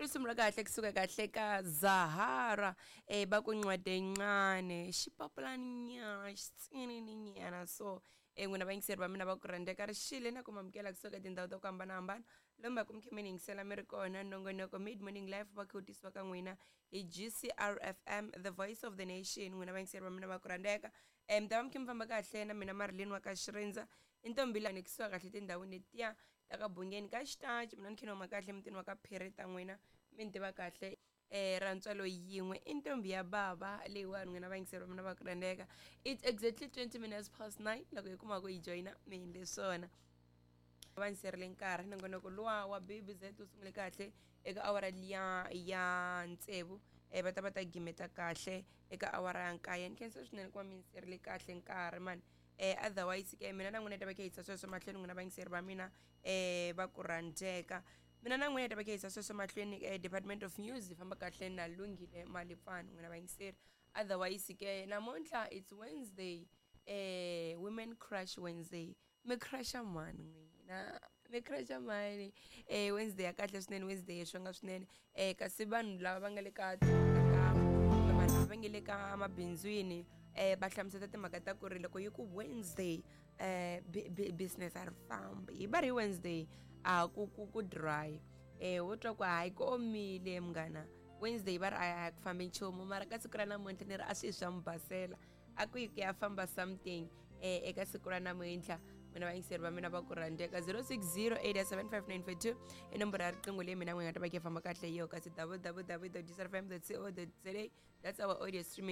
Risimu ra kahle kusuka kahle ka Zahara va ku ncwadi yincane xipapulani nyana xitsinini nyana. So n'wina vayingiseri va mina va ku rhandzeka ri xile na ku mamukela kusuka tindhawu ta ku hambanahambana lomu va ku mi khe mi ni yingisela mi ri kona. Nongonoko Mid Morning Life va khe wu tisiwa ka n'wina hi GCRFM, the voice of the nation. N'wina vayingiseri va mina va ku rhandzeka, mi ta va mi khe mi famba kahle na mina Marilyn wa ka Xirindza i ntombi la ni kusuka kahle tindhawini letiya ta ka Bungeni ka xitaci. Mina ni khe ni huma kahle mutini wa ka Phiri ta n'wina mi ni tiva kahle ra ntswalo yin'we i ntombi ya bava leyiwani. N'wina vayingiseri va mina va ku rhandzeka, it's exactly 20 minutes past 9 loko hi kuma ku yi joyina mi endle swona va ni serile nkarhi. Nongonoko luwa wa BBZ wu sungule kahle eka awara liya ya tsevu, va ta va ta gimeta kahle eka awara ya nkaye. Ni khensa swinene ku va mi ni serile kahle nkarhi mani. Otherwise ke mina na n'wina ta va khe yisa sweswo mahlweni. N'wina vayingiseri va mina va ku rhandzeka, mina na n'wina ta va khe yisa sweswo mahlweni. Department of News yi famba kahle na Lunghile Malipfani. N'wina vayingiseri, otherwise ke namuntlha it's Wednesday, Women Crush Wednesday. Mi crusha mani n'wina? Mi crusha mani? Wednesday ya kahle swinene, Wednesday ya xonga swinene. Kasi vanhu lava va nga le ka vanhu lava va nga le ka mabindzwini va hlamusela timhaka ta ku ri loko yi ku Wednesday business a ri fambi, hi va ri Wednesday a ku dry, wo twa ku hayi ku omile munghana. Wednesday va ri a ku fambi nchumu, mara ka siku ra namuntlha ni ri a swi swa mi basela a ku yi ku ya famba something eka siku ra namuntlha. N'wina vayingiseri va mina va ku rhandzeka, 06087594 i nomboro ya riqingho leyi mina n'wi nga ta va ki famba kahle yo, kasi www.gcrfm co za, that's our audio streaming.